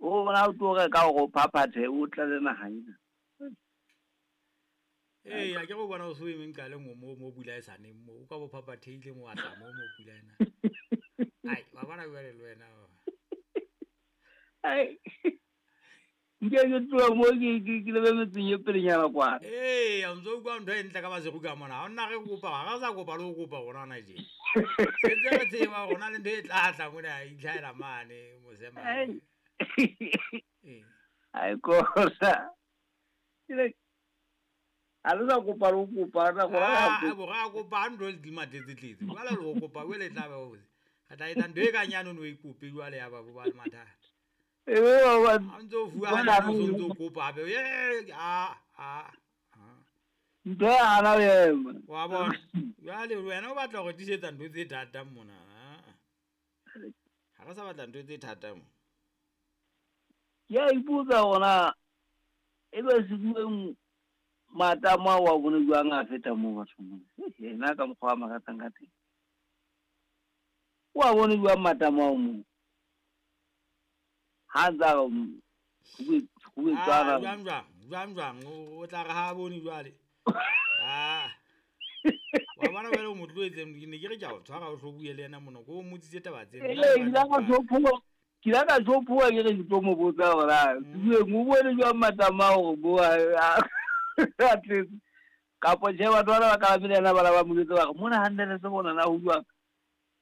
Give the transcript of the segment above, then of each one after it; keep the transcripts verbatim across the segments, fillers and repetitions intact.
O bona o tlo reka hore o phaphathe o tlale naha ena. Ee, a ke go bona o se o emeng ka le mo mo mo pula e sa neng mo o ka bo phaphatheile mo atla mo mo pula ena. Ai, wa bona jwale le wena. Ai. Nke ke tloha mo ke ke ke lebe metseng e pelenyana kwana. Ee, a ntso utlwa ntho e ntle ka Maseru ka mona. Ha hona re kopa, ha re sa kopa le ho kopa rona hona tje. Sentse re tseba hore hona le ntho e tla tla mona e itlhahela mane mose mane. Ee. Ai kona. Ke a le sa kopa le ho kopa re Ah, bo ra kopa ntho di matletse-tletse. Jwale le ho kopa jwale e tla ba ho. Re tla etsa ntho e kang yane o e kope jwale ya ba bo ba le mathata. E be ba Ha ntso o fuwa hanyane o so ntso kopa hape. Eh, ah, ah. Ntho e hana ho ema. Wa bona. Jwale wena o batla ho re tlisetsa ntho tse thata mona. Ha re sa batla ntho tse thata mo. Ke a ipotsa hore ebe sebueng matamo ao wa bone jwang a feta moo bathong mona. Yena ka mokgwa a makatang ka teng. O a bone jwang matamo ao moo? Ha ntsa re ho Ah, jwang jwang, jwang jwang, o tla re ha bone jwale. Ah. Wa bona jwale o mo tlohetse, ke ne ke re ke a o tshwara o hlo bue le yena mona, ko o mmotsitse taba tsena. Ee, ke ile ka tjhophuwa, ke ile ka tjhophuwa ke re ke tlo mo botsa hore na sebueng o bone jwang matamo ao hore bo a a tletse. Kapa tjhe batho bana ba kalamile yena ba la ba mo jwetsa ba re mona hantle le se bona na ho jwang.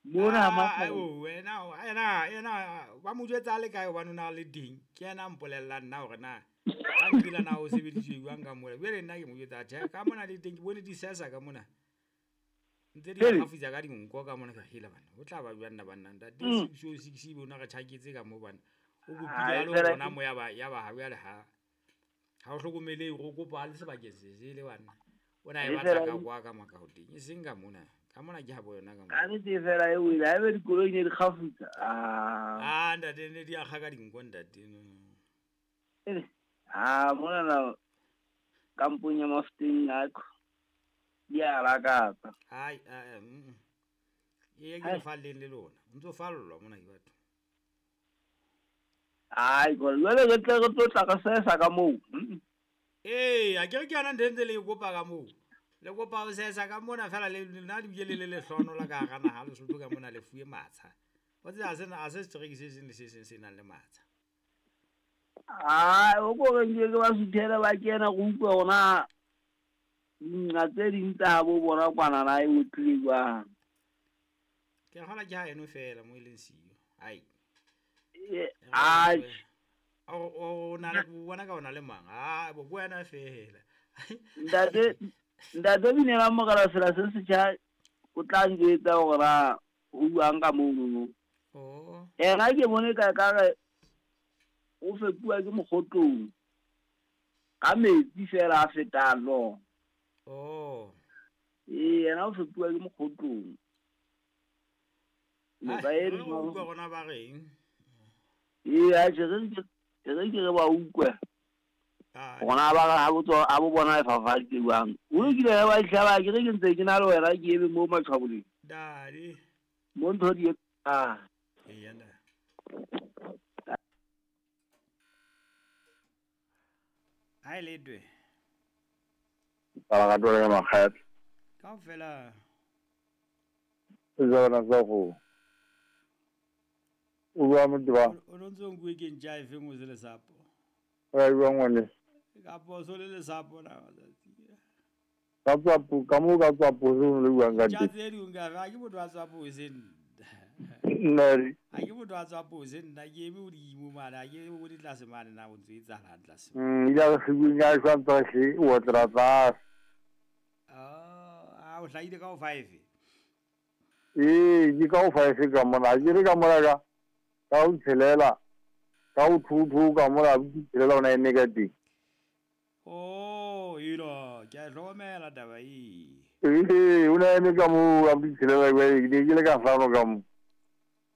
Mona ha Ah, matla. wena yena yena ba mo jwetsa a le kae hobane o na le teng. Ke yena a mpolellang nna hore na ka nkile na o sebediswe jwang ka mola. Jwale nna ke mo jwetsa tjhe ka mona le teng ke bone di sesa ka mona. Ntse di Hele. kgafutsa ka dinko ka mona ka hela bana. Ho tla ba jwang nna banna ntate Mm. six oh six ebe o na re tjhaketse ka mo bana. O kopile Ai a le fela rona mo ya ba ya ba ha jwale ha ha o hlokomele o kopa a le sebakeng se sele bana. O na e E batla fela ka kwa ka makaoteng e seng ka mona. Ka mona ke ha bo yona ka mona. Ka nnete fela e wele ha ebe dikoloi ne di kgafutsa. Ah. Ah ntate ne di akga ka dinko ntate. No. Ele. Ah mona na kampong ya Mafeteng a di a lakatsa. Ai ah mm. E ke Hai. le falleng le lona. O ntso fallwa mona ke batho. Ai gore jwale re tle re tlo tla re sesa ka moo. Mm. Ee, a ke re ke yona ntho e ntse le e kopa ka moo. Le kopa ho sesa ka mona fela le nna le bile le le lehlono la ka hara naha Lesotho ka mona le fuwe matsha. Wa tseba ha se ha se setereke se seng le se seng se nang le matsha. Ai o ko re nke ke ba suthele ba kena go utlwe hore na nqa tse ding tsa habo bona kwana na e otlile jwang. Ke kgola ke ha eno fela mo e leng siyo. Ai. E E ai O o na le bona ka ona le mang? Ah, bo ko wena fela. ntate ntate Binela Mogala sela se setjha o tla njwetsa hore na ho buang ka mono. Oh. Yena ke bone ka ka re o fepuwa ke mokgotlong ka metsi fela a fetang lona. Oh. Ee, yena o fepuwa ke mokgotlong. Noka Ai, e re re go utlwa rona ba reng? Ee, atjhe re ke re ke re ba utlwe. Ai. Rona ba re ha bo tswa ha bo bona e fafaditse jwang. O lokile ha ba hlaba ke re ke ntse ke na le wena ke eme mo matshwaboleng. Dadi. Mo ntho di ah. Eya nda. Ai ledwe. Ba ga tole ka makgetho. Kaofela Tsona tsa go. O bua motho ba. o no ntso nkuwe ke ntja e feng o se lesapo. Ra bua ngwane. Ka poso le lesapo na matsatsi. Ka tswa ka mo ka tswa poso le buang ka Ntja teng. tse ding ka ha ke motho a tswa pose nna. Nna Ha ke motho a tswa pose nna ke eme hodimo mane ha ke bone tlase mane na ho ntso etsahalang tlase. Mm, ya re se ya shwa tsa se o tla tla. Ah, o hlahile ka o five. Ee, ke ka o five ka mona. Ke re ka mona ka ka o tshelela. Ka o two two ka mona o tshelela ona eme ka teng. Oh, ilo, ke a hlokomela taba e. Ee, o na eme ka mo a tshelela ke ne ke le ka hlano ka mo.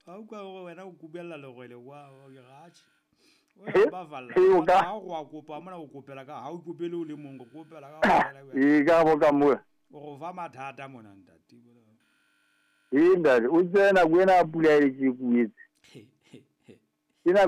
Ha o kwa hore wena o kubella lerwele kwa o ke ratjhe. O Eh, ba falla. eh, o ka- Ha o wa kopa mona o kopela ka ha o kopele o le mong o kopela ka ofela wena. Ee, ka bo ka mo. O go fa mathata mona ntate. Ee, ntate, o tsena ko ena pula e ke kuetse. Ke nako